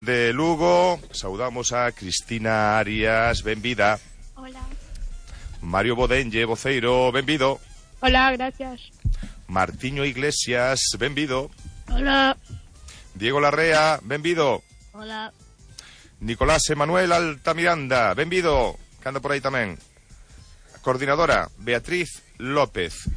de Lugo. Saudamos a Cristina Arias, benvida. Hola. Mario Bodenlle, voceiro, benvido. Hola, gracias. Martiño Iglesias, benvido. Hola. Diego Larrea, benvido. Hola. Nicolás Emanuel Altamiranda, benvido, que anda por aí tamén. Coordinadora, Beatriz López.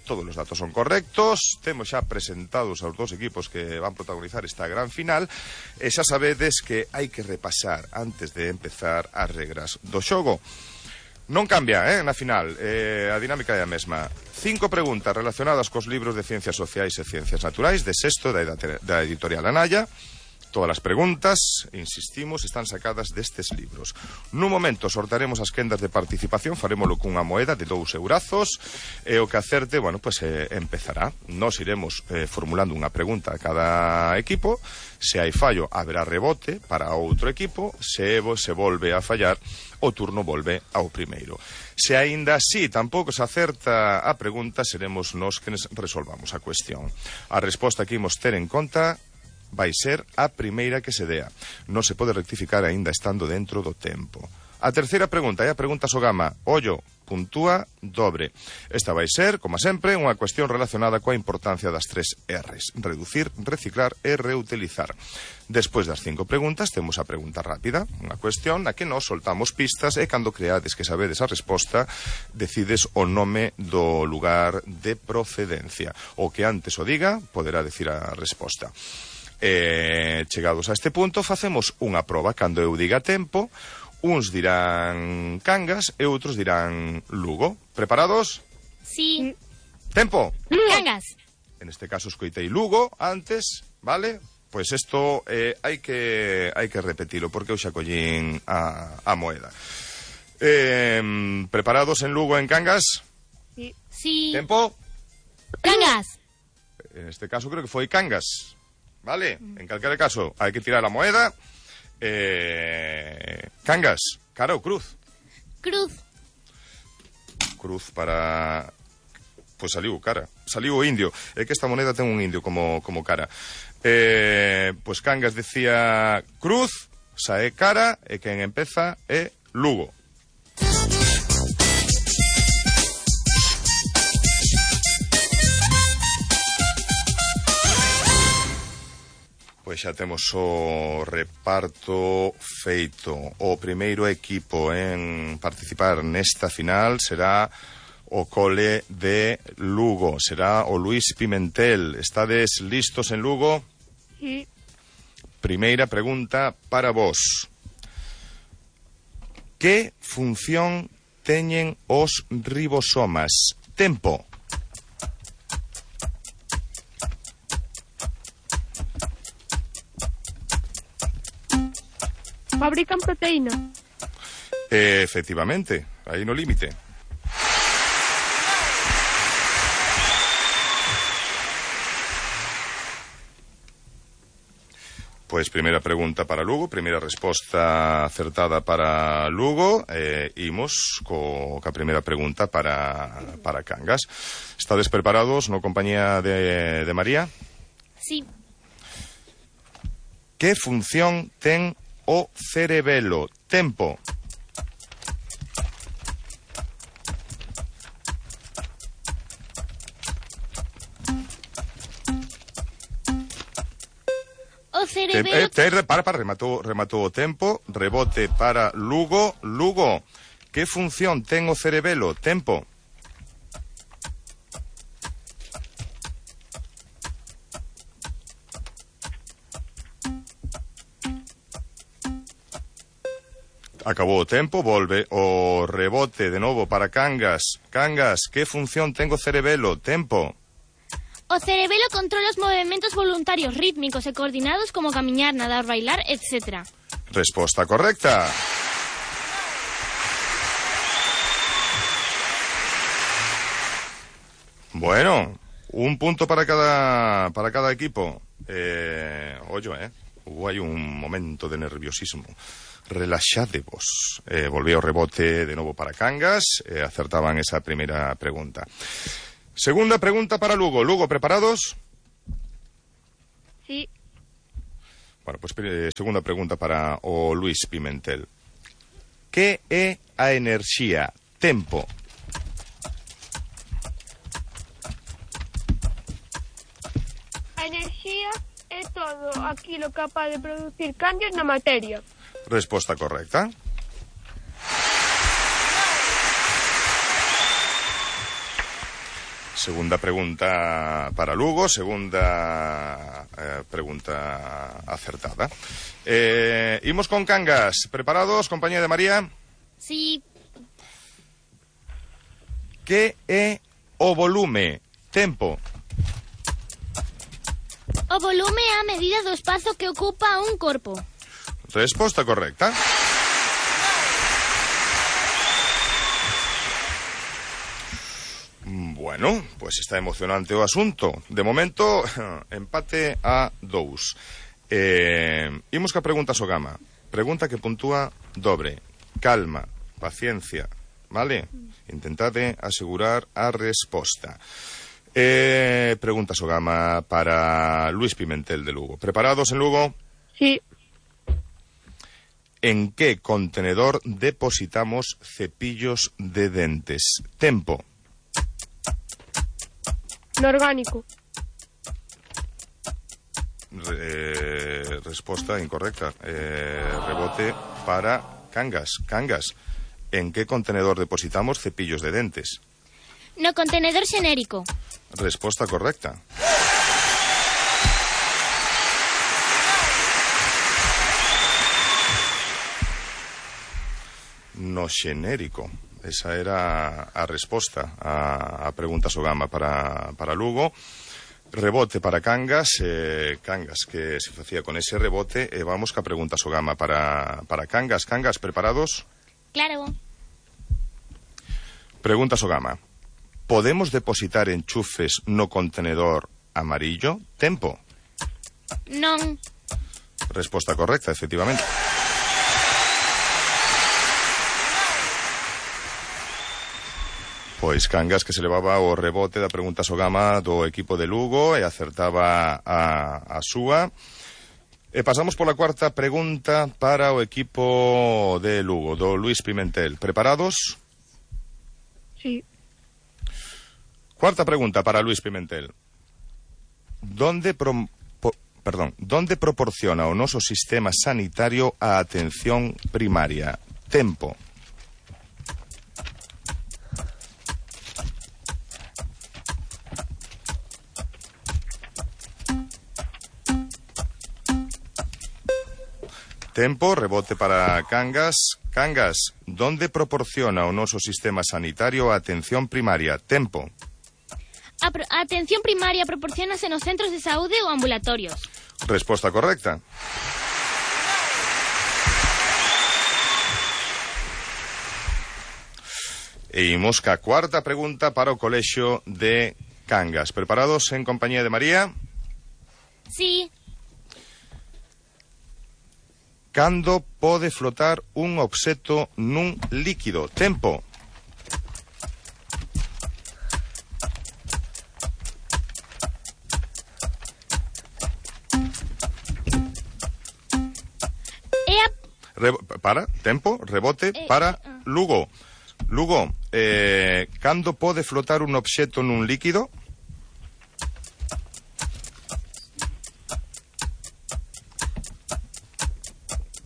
Todos los datos son correctos. Temos xa presentados aos dos equipos que van protagonizar esta gran final. E xa sabedes que hai que repasar antes de empezar as regras do xogo. Non cambia, na final, a dinámica é a mesma. 5 preguntas relacionadas cos libros de Ciencias Sociais e Ciencias Naturais de sexto da editorial Anaya. Todas as preguntas, insistimos, están sacadas destes libros. Nun momento sortaremos as quendas de participación, farémolo cunha moeda de 2 eurazos, e o que acerte, empezará. Nos iremos formulando unha pregunta a cada equipo. Se hai fallo, haberá rebote para outro equipo. Se volve a fallar, o turno volve ao primeiro. Se aínda así tampouco se acerta a pregunta, seremos nós que resolvamos a cuestión. A resposta que imos ter en conta vai ser a primeira que se dea. Non se pode rectificar aínda estando dentro do tempo. A terceira pregunta é a pregunta Sogama. Ollo, puntúa dobre. Esta vai ser, como sempre, unha cuestión relacionada coa importancia das 3 R's. Reducir, reciclar e reutilizar. Despois das 5 preguntas, temos a pregunta rápida, unha cuestión na que nos soltamos pistas e cando creades que sabedes a resposta, decides o nome do lugar de procedencia. O que antes o diga, poderá decir a resposta. Chegados a este punto, facemos unha proba. Cando eu diga tempo, uns dirán Cangas e outros dirán Lugo. Preparados? Sí. Tempo. Cangas. En este caso escoitei Lugo antes, vale? Pois isto hai que repetilo, porque eu xa collín a moeda. Preparados en Lugo, en Cangas? Sí. Sí. Tempo. Cangas. En este caso creo que foi Cangas. Vale, en calquera caso, hai que tirar a moeda. Cangas, cara ou cruz? Cruz. Cruz para... Pois saliu cara, saliu o indio. É que esta moneda ten un indio como cara. Pois Cangas decía cruz, sae cara, e quen empeza é Lugo. Pois xa temos o reparto feito. O primeiro equipo en participar nesta final será o cole de Lugo. Será o Luís Pimentel. Estades listos en Lugo? Sí. Primeira pregunta para vos. Que función teñen os ribosomas? Tempo. Fabrican proteína. Efectivamente, aí no límite. Pois primeira pregunta para Lugo, primeira resposta acertada para Lugo. Imos ca primeira pregunta para Cangas. Estades preparados no compañía de María? Sí. Que función ten o cerebelo? Tempo. O cerebelo... Rematou o tempo. Rebote para Lugo. Lugo, que función ten o cerebelo? Tempo. Acabou o tempo, volve o rebote de novo para Cangas. Cangas, que función ten o cerebelo? Tempo. O cerebelo controla os movementos voluntarios rítmicos e coordinados como camiñar, nadar, bailar, etc. Resposta correcta. Bueno, un punto para cada equipo. Hubo aí un momento de nerviosismo. Relaxadevos. Volvía o rebote de novo para Cangas. Acertaban esa primeira pregunta. Segunda pregunta para Lugo. Lugo, ¿preparados? Sí. Bueno, pois segunda pregunta para o Luís Pimentel. Que é a enerxía? Tempo. A enerxía é todo aquilo capaz de producir cambios na materia. Resposta correcta. Segunda pregunta para Lugo, segunda pregunta acertada. Imos con Cangas. Preparados, compañía de María? Sí. Que é o volume? Tempo. O volume é a medida do espazo que ocupa un corpo. Resposta correcta. Bueno, pues está emocionante o asunto. De momento, empate a 2. Imos ca pregunta Sogama. Pregunta que puntúa dobre. Calma, paciencia, vale? Intentade asegurar a resposta. Pregunta Sogama para Luís Pimentel de Lugo. ¿Preparados en Lugo? Sí. ¿En qué contenedor depositamos cepillos de dentes? Tempo. No orgánico. Resposta incorrecta. Rebote para Cangas. Cangas, ¿en qué contenedor depositamos cepillos de dentes? No contenedor xenérico. Resposta correcta. No xenérico. Esa era a resposta a pregunta Sogama para Lugo. Rebote para Cangas. Cangas, que se facía con ese rebote. Vamos ca pregunta Sogama para Cangas. Cangas, ¿preparados? Claro. Pregunta Sogama. ¿Podemos depositar enchufes no contenedor amarillo? Tempo. Non. Resposta correcta, efectivamente. Pois Cangas, que se levaba o rebote da pregunta Sogama do equipo de Lugo e acertaba a súa. E pasamos pola cuarta pregunta para o equipo de Lugo, do Luís Pimentel. Preparados? Sí. Cuarta pregunta para Luís Pimentel. ¿Dónde proporciona o noso sistema sanitario a atención primaria? Tempo. Tempo, rebote para Cangas. Cangas, ¿dónde proporciona o noso sistema sanitario a atención primaria? Tempo. A atención primaria proporcionase nos centros de saúde ou ambulatorios. Resposta correcta. E imos ca cuarta pregunta para o colexio de Cangas. Preparados en compañía de María? Sí. Cando pode flotar un obxecto nun líquido? Tempo. Tempo, rebote para Lugo. Lugo, cando pode flotar un obxecto nun líquido?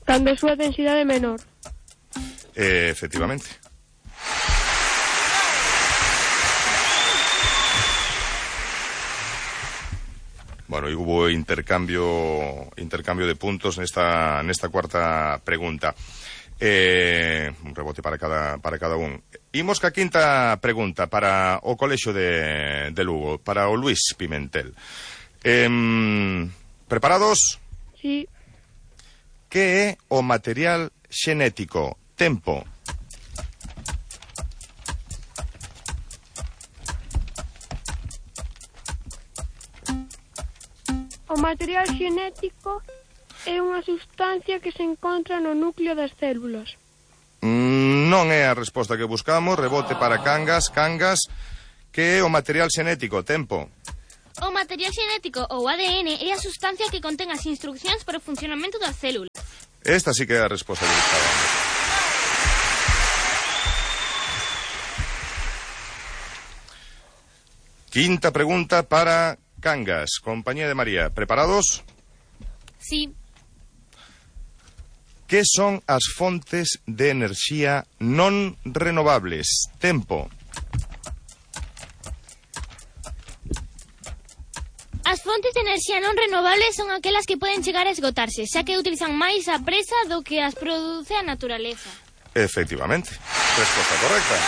Cando a súa densidade é menor. Efectivamente. Bueno, e hubo intercambio de puntos nesta cuarta pregunta. Un rebote para cada un. Imos ca quinta pregunta para o colexio de Lugo, para o Luís Pimentel. Preparados? Sí. Que é o material xenético? Tempo. O material xenético é unha sustancia que se encontra no núcleo das células. Non é a resposta que buscamos. Rebote para Cangas. Cangas, que é o material xenético? Tempo. O material xenético ou ADN é a sustancia que contén as instruccións para o funcionamento das células. Esta sí que é a resposta que buscábamos. Quinta pregunta para Cangas, compañía de María. ¿Preparados? Sí. Que son as fontes de enerxía non renovables? Tempo. As fontes de enerxía non renovables son aquelas que poden chegar a esgotarse, xa que utilizan máis a presa do que as produce a naturaleza. Efectivamente. Resposta correcta.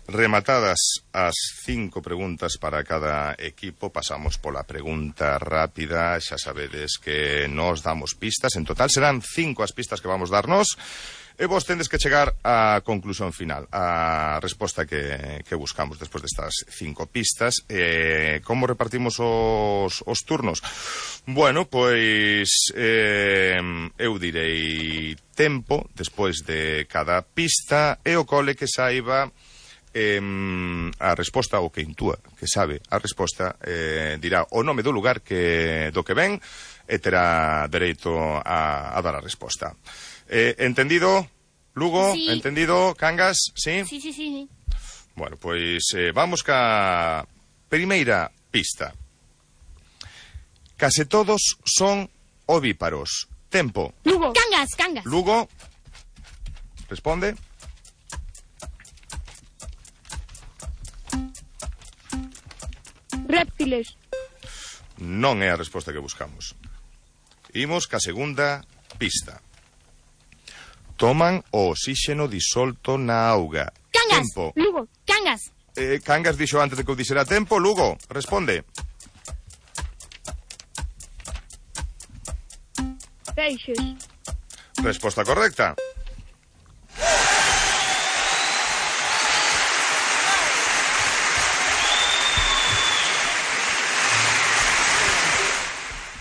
Rematadas as 5 preguntas para cada equipo, pasamos pola pregunta rápida. Xa sabedes que nos damos pistas. En total serán 5 as pistas que vamos darnos. E vos tendes que chegar á conclusión final, a resposta que buscamos despois destas 5 pistas. Como repartimos os turnos? Bueno, pois eu direi tempo despois de cada pista e o cole que saiba a resposta, o que intúa que sabe a resposta, dirá o nome do lugar do que ven e terá dereito a dar a resposta. ¿Entendido, Lugo? Sí. ¿Entendido, Cangas? ¿Sí? Sí. Bueno, pois vamos ca primeira pista. Case todos son ovíparos. Tempo. Lugo. Cangas. Lugo. Responde. Réptiles. Non é a resposta que buscamos. Imos ca segunda pista. Toman o oxígeno disolto na auga. Cangas. Tempo. Lugo. Cangas. Cangas dixo antes de que eu dixera tempo. Lugo, responde. Peixes. Resposta correcta.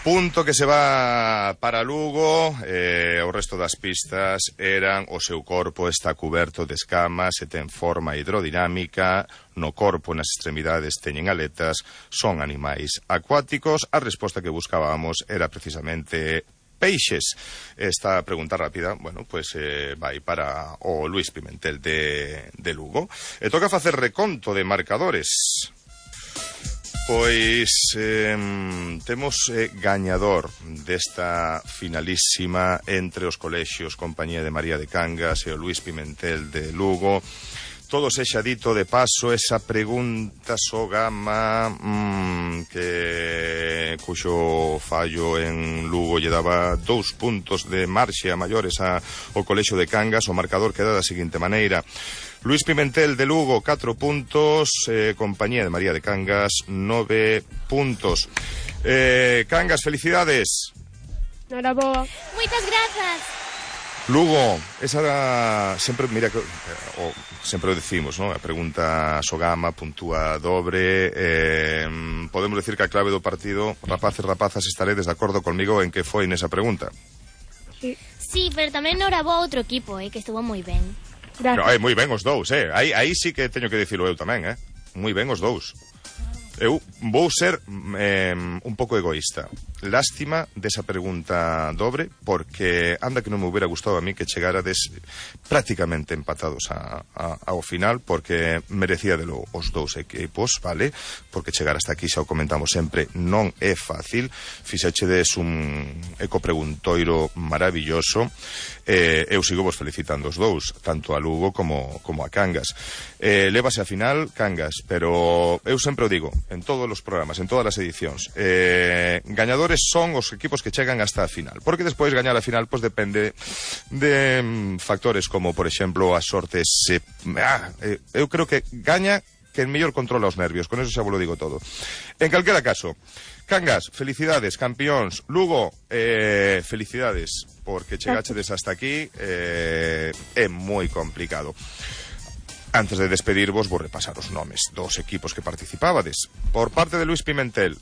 Punto que se va para Lugo. O resto das pistas eran: o seu corpo está cuberto de escamas e ten forma hidrodinámica, no corpo e nas extremidades teñen aletas, son animais acuáticos. A resposta que buscábamos era precisamente peixes. Esta pregunta rápida, bueno, pues vai para o Luís Pimentel de Lugo. E toca facer reconto de marcadores. Pois temos gañador desta finalísima entre os colexios Compañía de María de Cangas e o Luís Pimentel de Lugo. Todo sexa dito de paso, esa pregunta Sogama que cuxo fallo en Lugo lle daba 2 puntos de marxe a maiores ao colexio de Cangas. O marcador queda da seguinte maneira: Luís Pimentel de Lugo 4 puntos, Compañía de María de Cangas 9 puntos. Cangas, felicidades. Noraboa. Moitas grazas. Lugo, esa era sempre, mira, sempre o decimos, ¿no? A pregunta Sogama puntúa dobre. Podemos decir que a clave do partido, rapaces, rapazas, estaredes de acordo conmigo en que foi nesa pregunta. Sí, pero tamén noraboa outro equipo, que estuvo moi ben. Gracias. No, moi ben os dous, aí sí que teño que dicilo eu tamén, moi ben os dous. Eu vou ser un pouco egoísta. Lástima desa pregunta dobre, porque anda que non me hubiera gustado a mí que chegarades prácticamente empatados ao final, porque merecía delo os dous equipos, vale? Porque chegar hasta aquí, xa o comentamos sempre, non é fácil. Fixechedes un ecopreguntoiro maravilloso. Eu sigo vos felicitando os dous, tanto a Lugo como a Cangas. Lévase a final Cangas, pero eu sempre o digo en todos os programas, en todas as edicións, gañadores son os equipos que chegan hasta a final, porque despois gañar a final pois depende de factores como, por exemplo, a sorte. Eu creo que gaña quen mellor controla os nervios, con eso xa vos lo digo todo. En calquera caso, Cangas, felicidades, campións. Lugo, felicidades, porque chegachedes hasta aquí. É moi complicado. Antes de despedirvos, vou repasar os nomes dos equipos que participábades. Por parte de Luís Pimentel,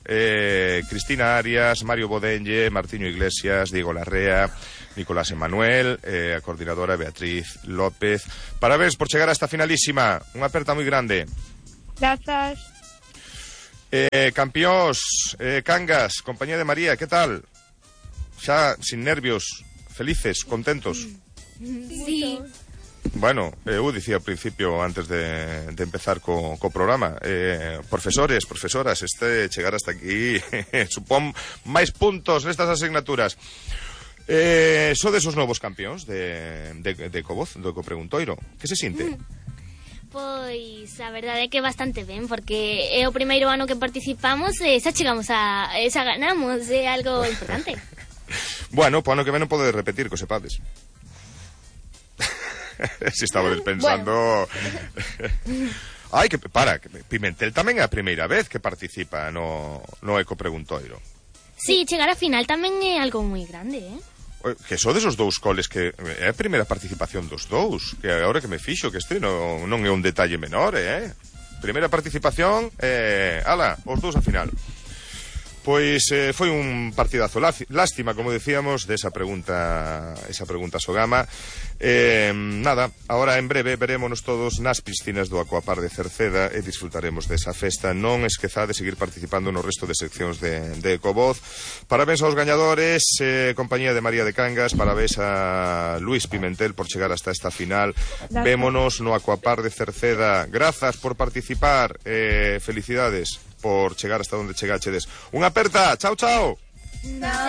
Cristina Arias, Mario Bodenlle, Martiño Iglesias, Diego Larrea, Nicolás Emanuel, a coordinadora Beatriz López. Parabéns por chegar a esta finalísima. Unha aperta moi grande. Grazas. Campións, Cangas, compañía de María, que tal? Xa sin nervios, felices, contentos? Sí. Bueno, eu dicía ao principio, antes de empezar co programa, profesores, profesoras, chegar hasta aquí supón máis puntos nestas asignaturas. Sodes os novos campións de Ecovoz, do Ecopreguntoiro. Que se sinte? Pois a verdade é que bastante ben, porque é o primeiro ano que participamos e xa chegamos xa ganamos, é algo importante. Bueno, po ano que ven non podedes repetir, que o sepades. Se estabades pensando... Ai, que Pimentel tamén é a primeira vez que participa no Ecopreguntoiro. Sí, chegar a final tamén é algo moi grande, Que sodes os dous coles que é a primeira participación dos dous, que agora que me fixo que non é un detalle menor, primeira participación, ala, os dous a final. Pois foi un partidazo. Lástima, como decíamos, de esa pregunta Sogama. Nada, ahora en breve verémonos todos nas piscinas do Aquapar de Cerceda e disfrutaremos desa festa. Non esquezade seguir participando no resto de seccións de Ecovoz. Parabéns aos gañadores, compañía de María de Cangas, parabéns a Luis Pimentel por chegar hasta esta final. Gracias. Vémonos no Aquapar de Cerceda. Grazas por participar, felicidades por chegar hasta onde chegachedes. Unha aperta, chao, chao. Chao.